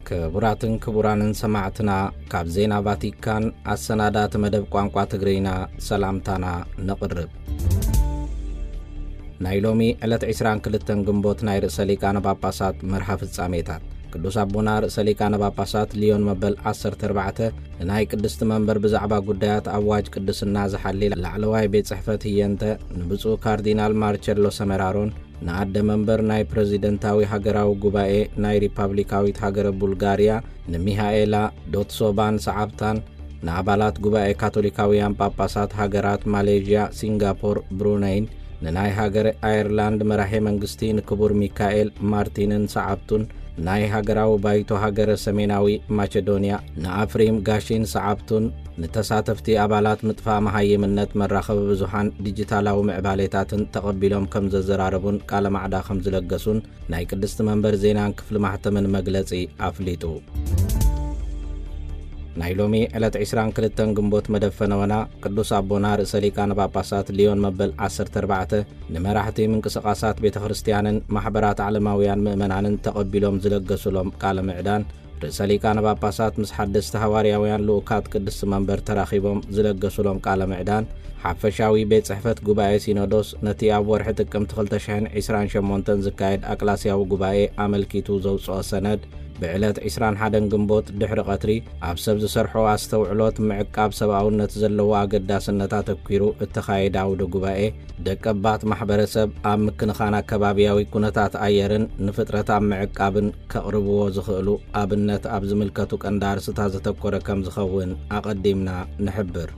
ክቡራትን ክቡራንን ሰማዕትና፣ ካብ ዜና ቫቲካን ኣሰናዳእቲ መደብ ቋንቋ ትግርኛ ሰላምታና ነቕርብ። ናይ ሎሚ ዕለት ዕስራን ክልተን ግንቦት ናይ ርእሰ ሊቃነ ጳጳሳት መርሃ ፍጻሜታት። ቅዱስ ኣቦና ርእሰ ሊቃነ ጳጳሳት ሊዮን መበል ዓሰርተ ኣርባዕተ ንናይ ቅድስቲ መንበር ብዛዕባ ጉዳያት ኣዋጅ ቅድስና ዝሓሊ ላዕለዋይ ቤት ጽሕፈት ህየንተ ንብፁዕ ካርዲናል ማርቸሎ ሰሜራሮን ንኣደ መንበር ናይ ፕረዚደንታዊ ሃገራዊ ጉባኤ ናይ ሪፓብሊካዊት ሃገረ ቡልጋርያ ንሚሃኤላ ዶትሶባን ሰዓብታን፣ ንኣባላት ጉባኤ ካቶሊካውያን ጳጳሳት ሃገራት ማሌዥያ፣ ሲንጋፖር፣ ብሩነይን፣ ንናይ ሃገረ ኣየርላንድ መራሄ መንግስቲ ንክቡር ሚካኤል ማርቲንን ሰዓብቱን፣ ናይ ሃገራዊ ባይቶ ሃገረ ሰሜናዊ ማቸዶንያ ንኣፍሪም ጋሺን ሰዓብቱን፣ ንተሳተፍቲ ኣባላት ምጥፋእ መሃይምነት መራኸቢ ብዙሓን ዲጂታላዊ ምዕባሌታትን ተቐቢሎም ከም ዘዘራረቡን ቃለ ማዕዳ ከም ዝለገሱን ናይ ቅድስቲ መንበር ዜናን ክፍሊ ማሕተምን መግለጺ ኣፍሊጡ። ናይ ሎሚ ዕለት ዕስራን ክልተን ግንቦት መደብ ፈነወና ቅዱስ ኣቦና ርእሰ ሊቃነ ጳጳሳት ሊዮን መበል ዓሰርተ ኣርባዕተ ንመራሕቲ ምንቅስቓሳት ቤተ ክርስቲያንን ማሕበራት ዓለማውያን ምእመናንን ተቐቢሎም ዝለገሱሎም ቃለ ምዕዳን፣ ርእሰ ሊቃነ ጳጳሳት ምስ ሓደስቲ ሃዋርያውያን ልኡካት ቅድስቲ መንበር ተራኺቦም ዝለገሱሎም ቃለ ምዕዳን፣ ሓፈሻዊ ቤት ጽሕፈት ጉባኤ ሲኖዶስ ነቲ ኣብ ወርሒ ጥቅምቲ ክልተ ሽሕን ዕስራን ሸሞንተን ዝካየድ ኣቅላስያዊ ጉባኤ ኣመልኪቱ ዘውጽኦ ሰነድ፣ ብዕለት ዕስራን ሓደን ግንቦት ድሕሪ ቀትሪ ኣብ ሰብ ዝሰርሖ ኣስተውዕሎት ምዕቃብ ሰብኣውነት ዘለዎ ኣገዳስነት ኣተኲሩ እተኻየደ ኣውደ ጉባኤ፣ ደቀባት ማሕበረሰብ ኣብ ምክንኻን ኣከባብያዊ ኩነታት ኣየርን ንፍጥረት ኣብ ምዕቃብን ከቕርብዎ ዝኽእሉ ኣብነት ኣብ ዝምልከቱ ቀንዲ ኣርስታት ዘተኮረ ከም ዝኸውን ኣቐዲምና ንሕብር።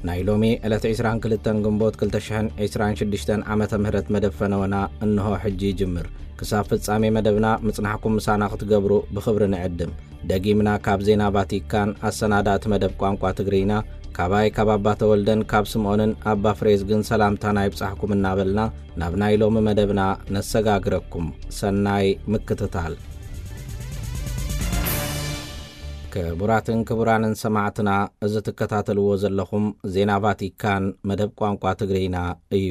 ናይ ሎሚ ዕለት ዕስራን ክልተን ግንቦት ክልተ ሽሕን ዕስራን ሽዱሽተን ዓመተ ምህረት መደብ ፈነወና እንሆ ሕጂ ይጅምር። ክሳብ ፍጻሜ መደብና ምጽናሕኩም ምሳና ክትገብሩ ብኽብሪ ንዕድም። ደጊምና ካብ ዜና ቫቲካን ኣሰናዳእቲ መደብ ቋንቋ ትግርኛ፣ ካባይ ካብ ኣባ ተወልደን ካብ ስምዖንን ኣባ ፍሬዝግን ሰላምታና ይብጻሕኩም እናበልና፣ ናብ ናይ ሎሚ መደብና ነሰጋግረኩም። ሰናይ ምክትታል። ክቡራትን ክቡራንን ሰማዕትና፣ እዚ ትከታተልዎ ዘለኹም ዜና ቫቲካን መደብ ቋንቋ ትግርኛ እዩ።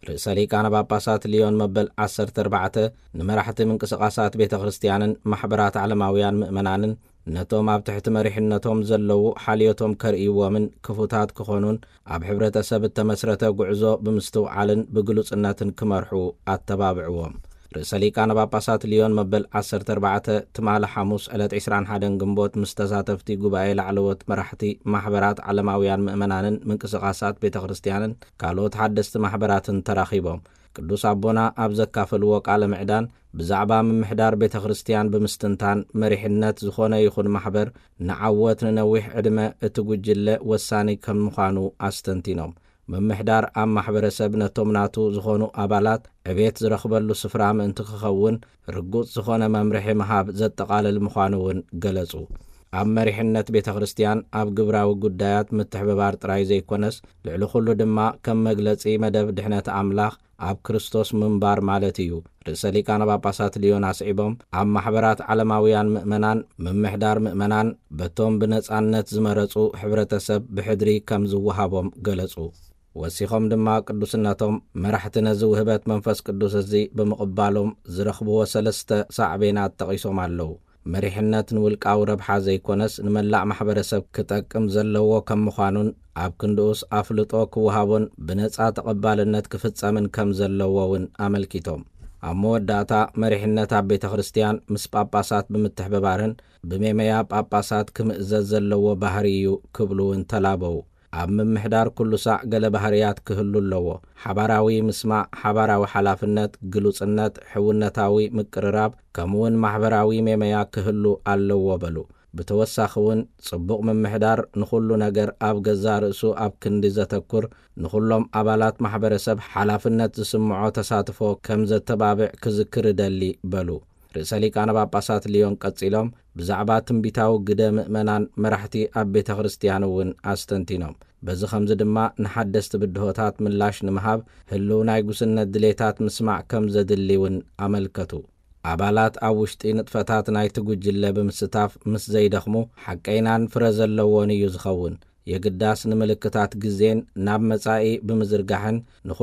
ርእሰ ሊቃነ ጳጳሳት ሊዮን መበል ዓሰርተ ኣርባዕተ ንመራሕቲ ምንቅስቓሳት ቤተ ክርስቲያንን ማሕበራት ዓለማውያን ምእመናንን ነቶም ኣብ ትሕቲ መሪሕነቶም ዘለዉ ሓልዮቶም ከርእይዎምን ክፉታት ክኾኑን ኣብ ሕብረተሰብ እተመስረተ ጉዕዞ ብምስትውዓልን ብግሉጽነትን ክመርሑ ኣተባብዕዎም። ርእሰ ሊቃነ ጳጳሳት ሊዮን መበል ዓሰርተ ኣርባዕተ ትማሊ ሓሙስ ዕለት ዕስራን ሓደን ግንቦት ምስ ተሳተፍቲ ጉባኤ ላዕለዎት መራሕቲ ማሕበራት ዓለማውያን ምእመናንን ምንቅስቓሳት ቤተ ክርስቲያንን ካልኦት ሓደስቲ ማሕበራትን ተራኺቦም። ቅዱስ ኣቦና ኣብ ዘካፈልዎ ቃለ ምዕዳን ብዛዕባ ምምሕዳር ቤተ ክርስቲያን ብምስትንታን መሪሕነት ዝኾነ ይኹን ማሕበር ንዓወት ንነዊሕ ዕድመ እቲ ጉጅለ ወሳኒ ከም ምዃኑ ኣስተንቲኖም። ምምሕዳር ኣብ ማሕበረሰብ ነቶም ናቱ ዝኾኑ ኣባላት ዕቤት ዝረኽበሉ ስፍራ ምእንቲ ክኸውን ርጉጽ ዝኾነ መምርሒ ምሃብ ዘጠቓልል ምዃኑ እውን ገለጹ። ኣብ መሪሕነት ቤተ ክርስቲያን ኣብ ግብራዊ ጉዳያት ምትሕብባር ጥራይ ዘይኮነስ ልዕሊ ኩሉ ድማ ከም መግለጺ መደብ ድሕነት ኣምላኽ ኣብ ክርስቶስ ምንባር ማለት እዩ። ርእሰ ሊቃነ ጳጳሳት ሊዮን ኣስዒቦም ኣብ ማሕበራት ዓለማውያን ምእመናን ምምሕዳር ምእመናን በቶም ብነጻነት ዝመረጹ ሕብረተሰብ ብሕድሪ ከም ዝወሃቦም ገለጹ። ወሲኾም ድማ ቅዱስነቶም መራሕቲ ነዚ ውህበት መንፈስ ቅዱስ እዚ ብምቕባሎም ዝረኽብዎ ሰለስተ ሳዕቤናት ጠቒሶም ኣለዉ። መሪሕነት ንውልቃዊ ረብሓ ዘይኮነስ ንመላእ ማሕበረሰብ ክጠቅም ዘለዎ ከም ምዃኑን ኣብ ክንድኡስ ኣፍልጦ ክወሃቦን ብነጻ ተቐባልነት ክፍጸምን ከም ዘለዎ እውን ኣመልኪቶም። ኣብ መወዳእታ መሪሕነት ኣብ ቤተ ክርስቲያን ምስ ጳጳሳት ብምትሕብባርን ብሜመያ ጳጳሳት ክምእዘዝ ዘለዎ ባህሪ እዩ ክብሉ እውን ተላበው። ኣብ ምምሕዳር ኩሉ ሳዕ ገለ ባህርያት ክህሉ ኣለዎ። ሓባራዊ ምስማዕ፣ ሓባራዊ ሓላፍነት፣ ግሉጽነት፣ ሕውነታዊ ምቅርራብ፣ ከምኡውን ማሕበራዊ ሜመያ ክህሉ ኣለዎ በሉ። ብተወሳኺ እውን ጽቡቕ ምምሕዳር ንኹሉ ነገር ኣብ ገዛእ ርእሱ ኣብ ክንዲ ዘተኩር፣ ንኹሎም ኣባላት ማሕበረሰብ ሓላፍነት ዝስምዖ ተሳትፎ ከም ዘተባብዕ ክዝክር እደሊ በሉ። ርእሰ ሊቃነ ጳጳሳት ሊዮን ቀጺሎም ብዛዕባ ትንቢታዊ ግደ ምእመናን መራሕቲ ኣብ ቤተ ክርስቲያን እውን ኣስተንቲኖም። በዚ ኸምዚ ድማ ንሓደስቲ ብድሆታት ምላሽ ንምሃብ ህልው ናይ ጉስነት ድሌታት ምስማዕ ከም ዘድሊ እውን ኣመልከቱ። ኣባላት ኣብ ውሽጢ ንጥፈታት ናይቲ ጉጅለ ብምስታፍ ምስ ዘይደኽሙ ሓቀይናን ፍረ ዘለዎን እዩ ዝኸውን። የግዳስ ንምልክታት ግዜን ናብ መጻኢ ብምዝርጋሕን ንኹ